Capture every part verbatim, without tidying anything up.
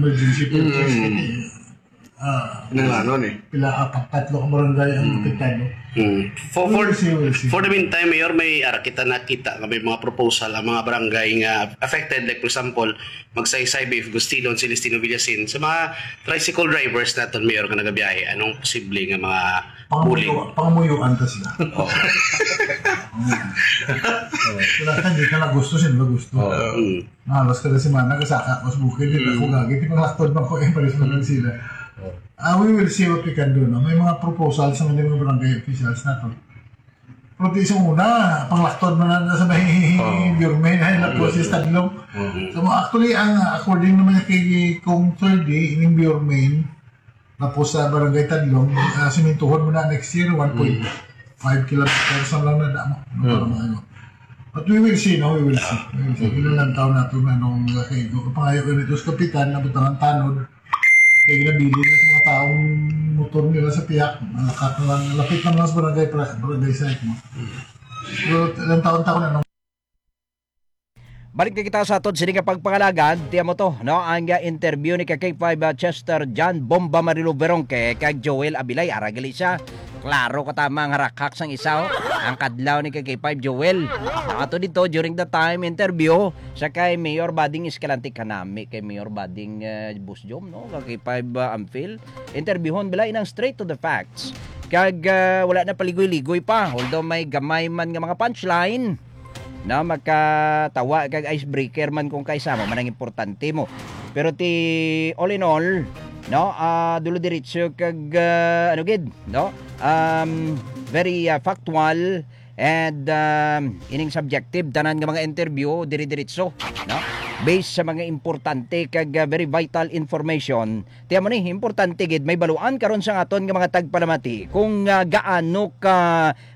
Emergency purchase Mm. kini. Ah, Kinanglanon eh. Pila, apat, tatlo ka barangay ang Mm. apektado. Mm. For, for, We'll see, we'll see. for the meantime, Mayor, may ara kita nakita nga may mga proposal ang mga barangay nga affected. Like, for example, Magsaysay, Biff Gustilon, Celestino Villasin. Sa mga tricycle drivers naton, Mayor, nga nagabiyahe, anong posible nga mga Pangamuyo-, buling? Pangamuyuan ta sila. Oh. Wala ka, di ka na gusto, sila gusto. Oh. Mm. Halos kada semana, kasaka ko sa bukid, di ako Mm. gagit, di panglaktod man ko, eh, pares man lang sila. Oh. Ah, we will see what we can do, no? May mga proposal sa mga, mga barangay officials naton. Pero di sa una, panglaktod man na sa may Oh. Bureau Main, ay, lapos Mm. sa Tadlong. Mm. So, actually, ang, according naman kay Kong Ferdy, ining Bureau Main, lapos sa Barangay Tadlong, ah, simintuhon mo na next year, one point five kilometers ang lang na damo. No, Mm. para maayo. But we will see, no? We will see. We will see. Mm. Ilan lang taon na ito na nung, uh, kay, pangayo ko nito sa kapitan na butangan tanod. Kay ginabilin na sa mga taong motor nila sa pihak, malakat na lang, lapit na lang sa barangay, pra-, barangay site mo. Pero ilang taon-taon na nung Balik na kita sa aton sini nga pagpangalagad, tiyan mo to, no? Ang, uh, interview ni ka K five, uh, Chester John Bomba Marilo Veronque kag Joel Abilay, ara gali siya. Klaro ka tama ang harakhak sang isa, oh. Ang kadlaw ni ka K five Joel. Ato dito during the time interview sa kay Mayor Bading Escalante, kanami kay Mayor Bading, uh, Boss Jom, no? Ka K five, uh, Ampil. Interviewon bala inang straight to the facts. Kag, ah, wala na paligoy-ligoy pa. Although may gamay man nga mga punchline, na makatawa kag icebreaker man kung kaisa mo man ang importante mo. Pero ti, all in all, no, ah, dulo diretso kag, ah, ano gid, no? Um, very, ah, factual and, um, ining subjective, tanan nga mga interview, dire-diretso, no? Based sa mga importante kag, ah, very vital information. Tiyan mo ni, importante gid, may baluan karon sa aton nga mga tagpalamati kung, ah, gaano ka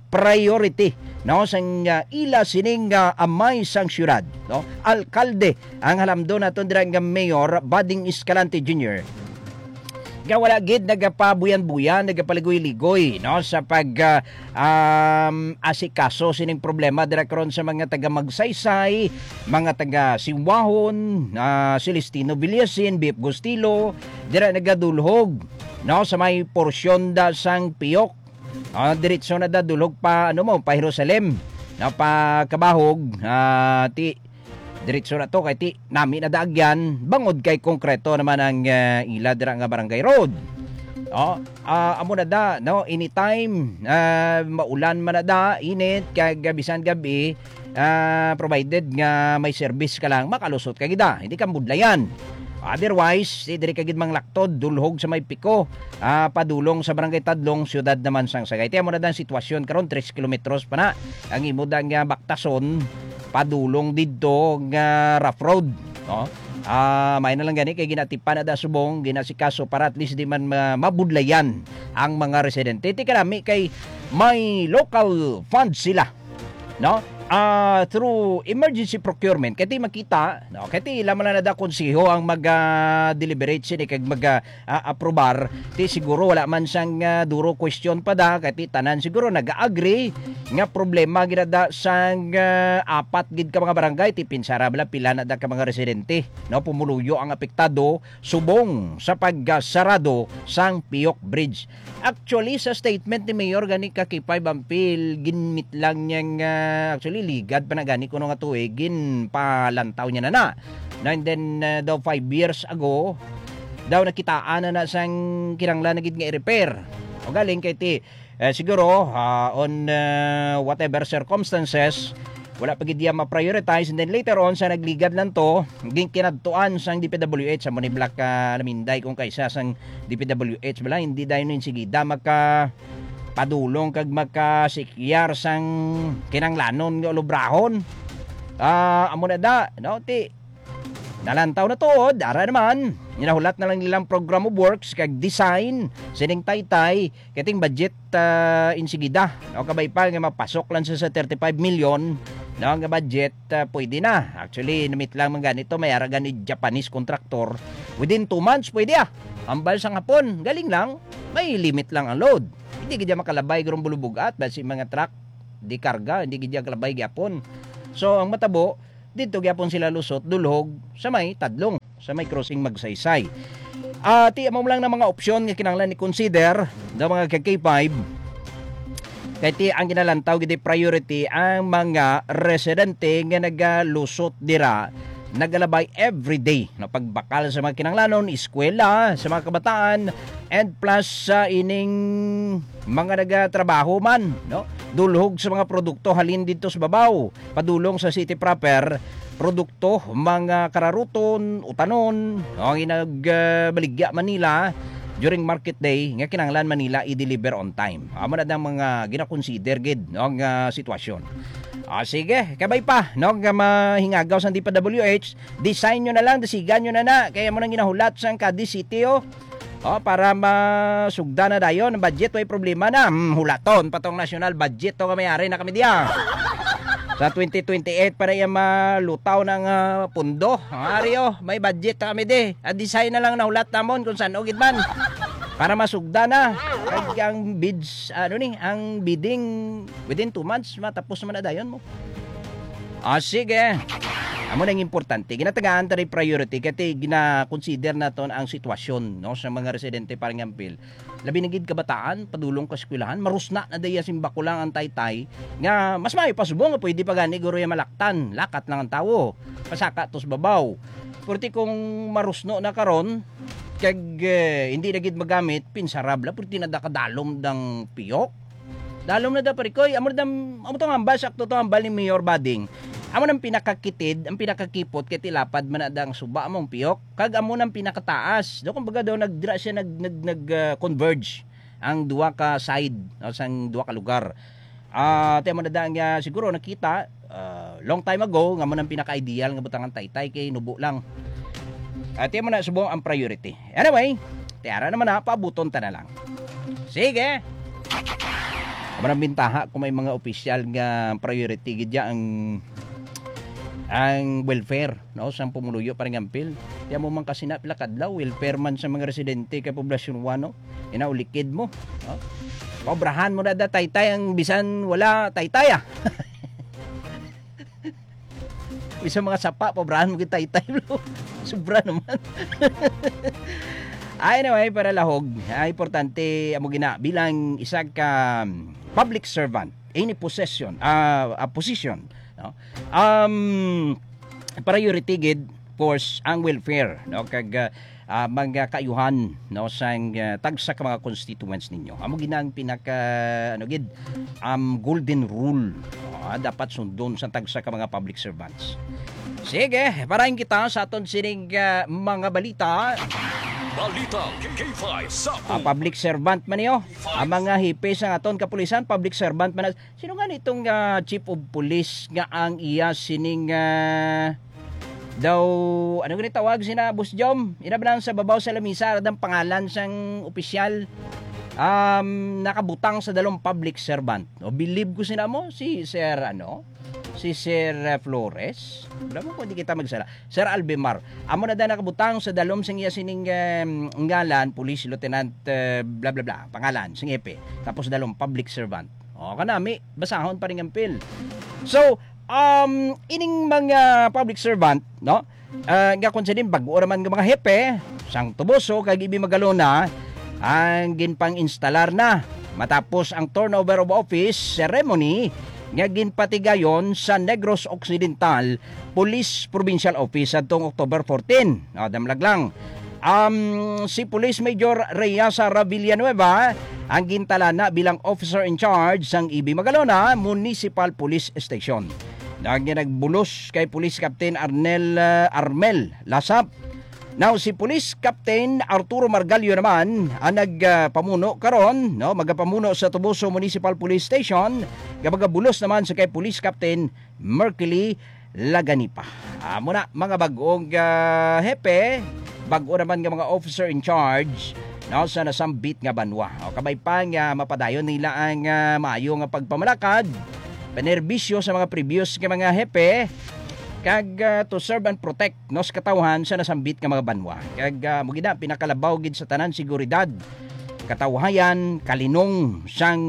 priority, no, sang, ah, ila sining, ah, amay sang syudad, no? Alkalde ang halamdon naton dira nga Mayor Bading Escalante Junior. Nga wala gid nagapabuyan-buyan, nagapaligoy-ligoy, no, sa pag, ah, um, asikaso sining problema dira karon sa mga taga Magsaysay, mga taga Siwahon, ah, Celestino Villasin, Biep Gustilo, dira nagadulhog, no, sa may porsyon da sang Piyok. Ah, diretso na da dulhog pa, ano mo, pa Jerusalem, no, pa Kabahog, ah, ti diretso na to kay ti nami na daagyan bangod kay konkreto naman ang, ah, ila dira nga barangay road. Oh, ah, amo na da, no, anytime, ah, maulan man na da, init kag bisan gabi, ah, provided nga may service ka lang, makalusot ka gida, hindi ka budlayan. Otherwise, di diri ka gid manglaktod, dulhog sa may piko, ah, padulong sa Barangay Tadlong, siyudad naman sang Sagay. Tiyan mo na da ang sitwasyon karon, tres kilometros pa na ang imo da nga baktason padulong didto nga rough road, no? Ah, may na lang gani kay ginatipan na da subong, ginasikaso para at least di man ma-, mabudlayan ang mga residente. Ti kanami kay may local fund sila, no? Ah, through emergency procurement, kay ti makita, no? Kay ti ila man lang na da konseho ang mag, ah, deliberate sini kag mag, ah, ah, aprobar, ti siguro wala man sang, ah, duro question pa da, kay ti tanan siguro nag-agree nga problema gid na da sang, ah, apat gid ka mga barangay, ti pinsara bala pila na da ka mga residente, no, pumuluyo ang apektado subong sa pagsarado sang Piyok Bridge. Actually, sa statement ni Mayor gani ka K five Ampil, ginmit lang niya nga, actually, ligad pa na gani kuno nga tuig, ginpalantaw niya na na. No, and then, uh, daw five years ago, daw nakitaan na na sang kinahanglan na gid nga i-repair. O galing kay ti, eh, siguro, ah, on, uh, whatever circumstances, wala pa gid iya ma-prioritize. And then later on, sa nagligad lang to, ginkinadtuan sang D P W H, sa mo ni Black, ah, Laminday kung kaisa sang D P W H, bala, hindi dayon insigida maka padulong kag makasikyar sang kinanglanon nga ulubrahon. Ah, amo na da, no? Ti, nalantaw na tuod, ara naman. Ginahulat na lang nilang program of works kag design sining taytay, kay ting budget, ah, insigida. No, kabay pa nga mapasok lang sa, sa thirty-five million, no, nga budget, ah, pwede na. Actually, namit lang man ganito, may ara gani Japanese contractor. Within two months, pwede ah. Ambal sang hapon, galing lang, may limit lang ang load. Hindi gid makalabay gurong bulubugat, basi mga truck, di karga, hindi gid kalabay gyapon. So, ang matabo, dito gyapon sila lusot, dulhog, sa may Tadlong. sa may crossing Magsaysay. Ah, ti amo lang na mga opsyon nga kinahanglan i-consider ng mga ka K five. Kay ti ang ginalantaw gid priority ang mga residente nga nagalusot dira, nagalabay everyday na pagbakal sa mga kinahanglanon, eskwela sa mga kabataan, and plus sa ining mga nagatrabaho man, no? Dulhog sa mga produkto halin dito sa babaw, padulong sa city proper, produkto, mga kararuton, no? Ang inag, ah, baligya Manila during market day nga kinahanglan Manila i-deliver on time. Amo na ang mga ginakonsider gid, no, nga sitwasyon. Ah, sige, kabay pa, no, nga mahingagaw sang D P W H, design nyo na lang, desigan nyo na na, kaya mo nang ginahulat sang Cadiz City, oh. Oh, para masugdan na dayon ang budget, way problema na. Hmm, hulaton pa tong national budget to, kami ari na kami diya. Sa twenty twenty-eight para iya malutaw ng, ah, pundo. Ang ari, oh, may budget na kami di. Ang design na lang nahulat namon kung saan o gid man. Para masugdan na. Kag ang bids, ano ni, ang bidding within two months, matapos man na dayon mo. Ah, sige. Amo nang importante. Ginatagaan ta rin priority kay gina-consider naton ang sitwasyon, no, sa mga residente, parang ampil. Labi na gid kabataan, padulong ka eskwelahan, marusna na daya simbako lang ang taytay, nga mas maayo pa subong nga pwede pa gani guro ya malaktan, lakat lang ang tawo, pasaka tos babaw. Purti kung marusno na karon, kag, eh, hindi na gid magamit, pinsarab la, purti na da kadalom dang piyok. Dalom na da, pare ko. Amo na dam-, amo tong hambal, sakto tong hambal ni Mayor Bading. Amo nang pinakakitid, ang pinakakipot kay tilapad man na da ang suba, amo ang piyok. Kag amo nang pinakataas. Do, kumbaga daw, nagdira siya, nag, nag, nag, ah, converge ang duha ka side, no, sang duha ka lugar. Ah, ti amo na da nga siguro nakita, ah, long time ago nga amo nang pinaka-ideal nga butangan taytay kay nubo lang. Ah, ti amo na subong ang priority. Anyway, tiara naman na, paabuton ta na lang. Sige. Amo nang bintaha kung may mga opisyal nga priority gid ya ang, ang welfare, no, sang pumuluyo, parang ampil. Ti amo man kasi na pila kadlaw, welfare man sa mga residente kay poblasyon one, no? Inaulikid mo, no? Paobrahan mo na da, taytay, ang bisan wala taytay, ah. Bisan mga sapa, paobrahan mo gid taytay, bro. Sobra naman. Ay, anyway, para lahog, ah, importante amo gina bilang isa ka, um, public servant, any possession, ah, ah, position, no? Um, priority gid, of course, ang welfare, no? Kag, ah, ah, mga kaayuhan, no, sang, ah, tagsa ka mga constituents ninyo. Amo gid na ang pinaka, ano gid, um, golden rule, ah, dapat sundon sa tagsa ka mga public servants. Sige, parahin kita sa aton sining, ah, mga balita. Balita K five sa Ah, public servant man niyo. Ang mga hepe sa aton kapulisan, public servant man na. Sino nga nitong, ah, chief of police nga ang iya sining, ah, daw, ano gani tawag sina, Boss Jom? Ina ba nang sa babaw sa lamisa, radang pangalan sang opisyal, um, nakabutang sa dalong public servant. O, believe ko sina mo, si Sir, ano? Si Sir, ah, Flores. Wala mo kung di kita magsala. Sir Albemar. Amo na da nakabutang sa dalom sang iya sining, em, ngalan, Police Lieutenant, eh, bla, bla, bla, pangalan, sing hepe. Tapos dalom, public servant. O, kanami, basahon pa rin ang pil. So, um, ining mga public servant, no? Ah, nga kung sinin, bago naman nga mga hepe, sang Toboso, kag Ibi Magalona, ang ginpang-instalar na matapos ang turnover of office ceremony nga ginpatigayon sa Negros Occidental Police Provincial Office adtong October fourteen. Ah, damlag lang. Um, si Police Major Reyasa Villanueva ang gintalana bilang officer in charge sang Ibi Magalona Municipal Police Station. Nag-, nagbulos kay Police Captain Arnel, ah, Armel Lasap. Now, si Police Captain Arturo Margallo naman ang nagpamuno karon, no, magapamuno sa Toboso Municipal Police Station, nga magabulos naman sa kay Police Captain Mercury Laganipa. Amo na, mga bag-ong, ah, hepe, bag-o naman nga mga officer in charge, no, sa nasambit nga banwa. O, kabay pa nga mapadayon nila ang, ah, maayo nga pagpamalakad, panerbisyo sa mga previous nga mga hepe, kag, ah, to serve and protect, no, sa katawhan sa nasambit nga mga banwa. Kag, ah, mo gid na, pinakalabaw gid sa tanan, seguridad, katawhayan, kalinong sang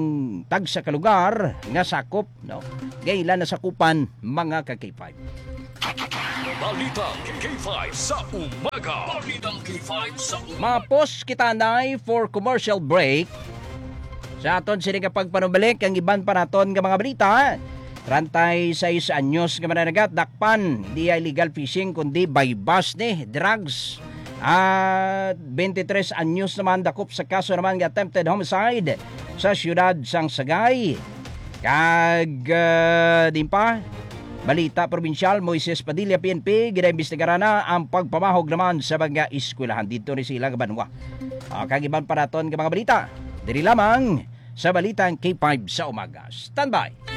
tagsa ka lugar nga sakop, no? Nga ila nasakupan, mga ka K five. Balitang K five sa umaga. Balitang K five sa umaga. Mapos kita, Nay, for commercial break. Sa aton sini nga pagpanumalik, ang iban pa naton nga mga balita. Treinta y seis anyos nga mananagat, dakpan, di illegal fishing, kundi buy-bust ni, drugs. At twenty-three anyos naman dakop sa kaso naman nga attempted homicide sa siyudad sang Sagay. Kag ah, din pa, balita probinsyal, Moises Padilla, P N P, ginaimbestigaran na ang pagpamahog naman sa mga eskwelahan dito ni sila nga banwa. Ah, kag iban pa naton nga mga balita, diri lamang sa Balitang K five sa umaga. Standby!